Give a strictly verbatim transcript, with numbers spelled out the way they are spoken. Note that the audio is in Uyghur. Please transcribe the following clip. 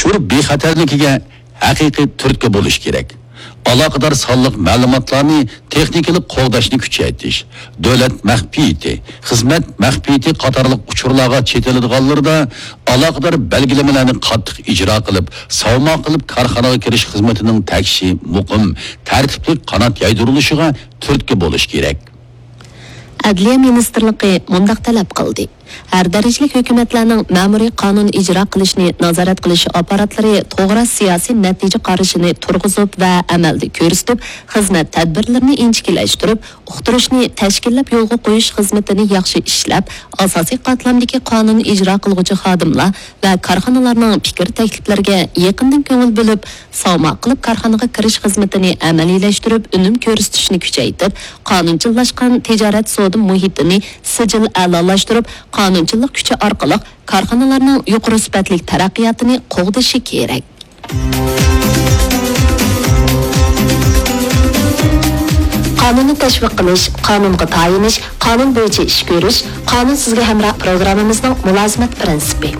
ئۇچۇر بىخەتەرلىكىگە ھەقىقىي تۈرتكە بولۇش كېرەك. ئالاقىدار سانلىق مەلۇماتلارنى تېخنىكىلىق قوغداشنى كۈچەيتىش، دۆلەت مەخپىيىتى، خىزمەت مەخپىيىتى قاتارلىق ئۇچۇرلارغا چېتىلىدىغانلىرىدا ئالاقىدار بەلگىلىمىلەرنى قاتتىق ئىجرا قىلىپ، ساۋماق قىلىپ كارخانىغا كىرىش خىزمىتىنىڭ تەكشى، مۇقىم، تەرتىپلىك قانات يايدۇرۇلۇشىغا تۈرتكە بولۇش كېرەك. ئەدلىيە مىنىستىرلىقى مۇنداق تەلەپ قىلدى: ھەر دەرىجىلىك ھۆكۈمەتلەرنىڭ مەمۇرىي قانۇن ئىجرا قىلىشنى نازارەت قىلىش ئاپپاراتلىرى توغرا سىياسىي نەتىجە قارىشىنى تۇرغۇزۇپ ۋە ئەمەلدە كۆرسىتىپ، خىزمەت تەدبىرلىرىنى ئىنچىكىلەشتۈرۈپ، ئۇقتۇرۇشنى تەشكىللەپ يولغا قويۇش خىزمىتىنى ياخشى ئىشلەپ، ئاساسىي قاتلامدىكى قانۇن ئىجرا قىلغۇچى خادىملار ۋە كارخانىلارنىڭ پىكىر تەكلىپلىرىگە يېقىندىن كۆڭۈل بۆلۈپ، ساۋماق قىلىپ كارخانىغا كىرىش خىزمىتىنى ئەمەلىيلەشتۈرۈپ، ئۈنۈم كۆرسىتىشنى كۈچەيتىپ، قانۇنچىللاشقان تىجارەت سودا مۇھىتىنى سىجىل ئەلالاشتۇرۇپ، قانۇنچىللىق كۈچى ئارقىلىق كارخانىلارنىڭ يۇقىرى سۈپەتلىك تەرەققىياتىنى قوغدىشى كېرەك. قانۇننى تەشۋىق قىلىش، قانۇنغا تايىنىش، قانۇن بويىچە ئىش كۆرۈش، قانۇن سىزگە ھەمراھ پروگراممىمىزنىڭ مۇلازىمەت پىرىنسىپى.